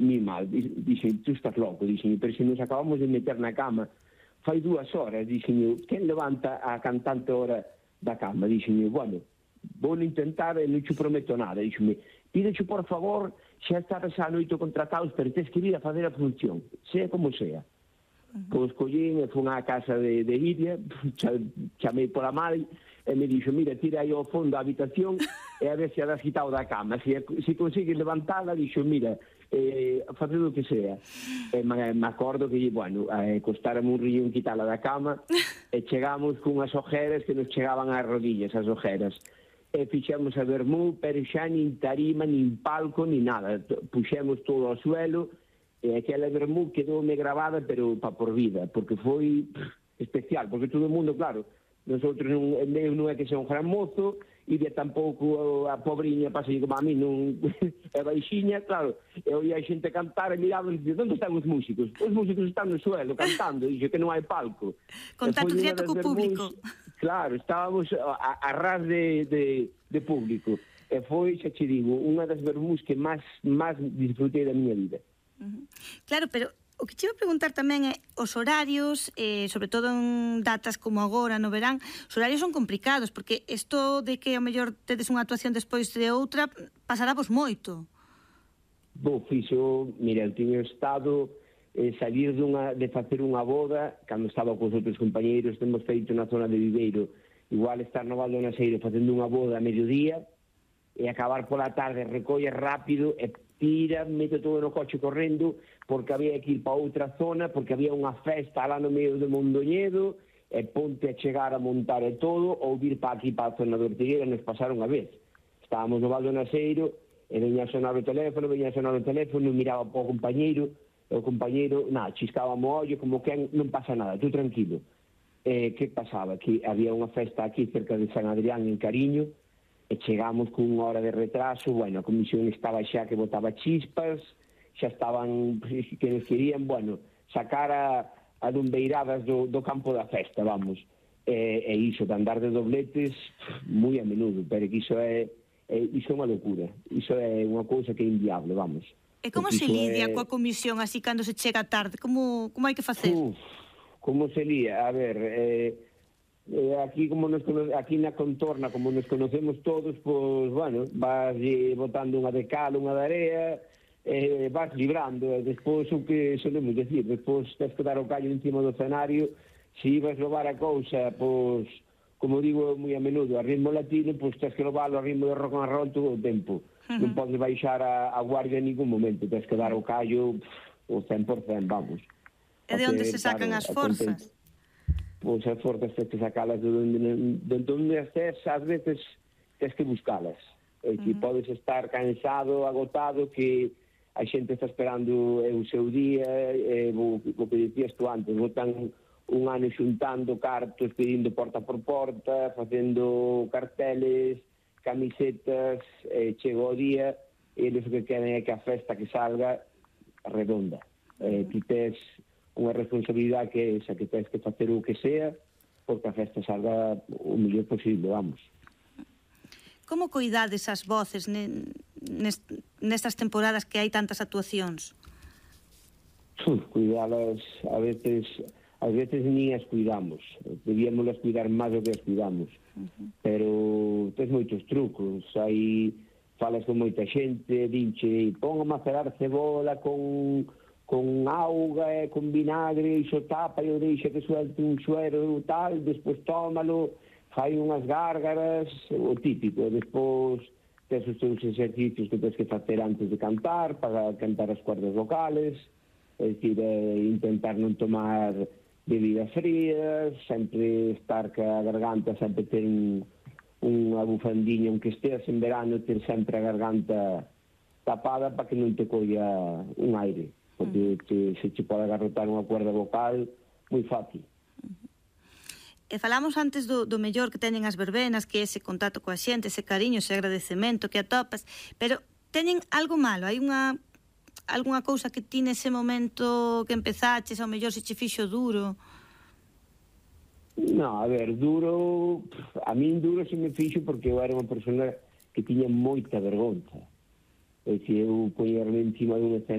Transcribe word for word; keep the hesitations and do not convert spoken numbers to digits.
mi mal. Dixen, tú estás loco, dixen, pero se nos acabamos de meter na cama fai dúas horas, dixen, quen levanta a cantante hora da cama? Dixen, bueno, vou intentar e non te prometo nada. Dixen, pídecho por favor, xa estabas a noite contratados, pero tens que vir a fazer a función, sea como sea. Pois collín e fun á casa de, de Iria, chamei pola mãe e me dixo, mira, tira aí ao fondo a habitación e a ver se a das quitado da cama. Se, se consigues levantala, dixo, mira, eh, fazer o que sea. E me, me acordo que, bueno, eh, costárame un riñón quitala da cama e chegamos cunhas ojeras que nos chegaban ás rodillas, as ojeras. E fixemos a vermú, pero xa nin tarima, nin palco, nin nada. Puxemos todo ao suelo e aquela vermú quedoume gravada, pero pa por vida, porque foi especial, porque todo o mundo, claro, nosotros non, eu non é que sea un gran mozo, e de tampouco a pobriña pasei como a mí, non é baixiña, claro, e oía a xente cantar e miraban e dicen, onde están os músicos? Os músicos están no suelo cantando, e dixo que non hai palco. Contacto directo co público. Claro, estábamos a, a ras de, de, de público, e foi, xa che digo, unha das vermús que máis, máis disfrutei da miña vida. Uh-huh. Claro, pero o que te iba a preguntar tamén é os horarios, eh, sobre todo en datas como agora, no verán, os horarios son complicados, porque isto de que ao mellor tedes unha actuación despois de outra, pasará vos moito. Bo, fixo, mira, eu tiño estado eh, salir dunha, de facer unha boda, cando estaba cos outros compañeiros, temos feito na zona de Viveiro, igual estar no Val do Naseiro facendo unha boda a mediodía, e acabar pola tarde, recolle rápido, e tira, mete todo no coche correndo, porque había que ir para outra zona, porque había unha festa lá no medio de Mondoñedo, e ponte a chegar a montar e todo, ou vir para aquí, para a zona de Ortigueira, nos pasaron a vez. Estábamos no Val do Naseiro, e veña a sonar o teléfono, veña a sonar o teléfono, miraba para o compañeiro, e o compañeiro, nada, chiscaba mo ollo, como que non pasa nada, tú tranquilo. E que pasaba? Que había unha festa aquí cerca de San Adrián, en Cariño, e chegamos con unha hora de retraso, bueno, a comisión estaba xa que botaba chispas, xa estaban que nos querían, bueno, sacar a, a dumbeiradas do, do campo da festa, vamos. E, e iso, de andar de dobletes, moi a menudo, pero que iso é, é, iso é unha locura, iso é unha cousa que é inviable, vamos. E como se lidia é... coa comisión así cando se chega tarde? Como, como hai que facer? Uf, como se lía? A ver, eh, Eh, aquí como nos aquí na contorna, como nos conocemos todos, pois, bueno, vas eh, botando unha de cal, unha de area, eh, vas librando, e despois o que solemos decir, despois tens que dar o callo encima do escenario, se ibas levar a cousa, pois, como digo moi a menudo, a ritmo latino, pois tens que levarlo a ritmo de rock and roll todo o tempo. Uh-huh. Non podes baixar a, a guardia en ningún momento, tens que dar o callo pff, o cen por cen, vamos. E de onde se sacan as forzas? Pois as forzas tens que sacalas de onde, de onde estés, ás veces tens que buscalas. E que uh-huh. podes estar cansado, agotado, que a xente está esperando o seu día, e o, o que dicías tú antes, botan un ano xuntando cartos, pedindo porta por porta, facendo carteles, camisetas, e chega o día, e eles o que queren é que a festa que salga redonda. Uh-huh. Eh, ti tes unha responsabilidade que é esa, que tens que facer o que sea porque a festa salga o mellor posible, vamos. Como cuidades as voces nestas temporadas que hai tantas actuacións? Uf, cuidalas, a veces a veces ni as cuidamos, debíamos cuidar máis do que as cuidamos. Uh-huh. Pero tens moitos trucos, hai falas con moita xente, dinche, pon a macerar cebola con con auga e con vinagre, iso tapa e o deixa que suelte un suero tal, despois tómalo, fai unhas gárgaras, o típico, despois tes os teus exercicios que tens que facer antes de cantar, para cantar as cuerdas vocales, é dicir, eh, intentar non tomar bebidas frías, sempre estar ca garganta, sempre ter un, unha bufandiña, aunque esteas en verano, ter sempre a garganta tapada para que non te colla un aire. Porque te, se che pode agarrotar unha cuerda vocal moi fácil. E falamos antes do, do mellor que teñen as verbenas, que é ese contacto coa xente, ese cariño, ese agradecemento que atopas, pero teñen algo malo, hai unha algunha cousa que ti nese momento que empezaches, ao mellor se che fixo duro? No, a ver, duro, a min duro se me fixo porque eu era unha persona que tiña moita vergonza. É dicir, eu poñerme encima dun escenario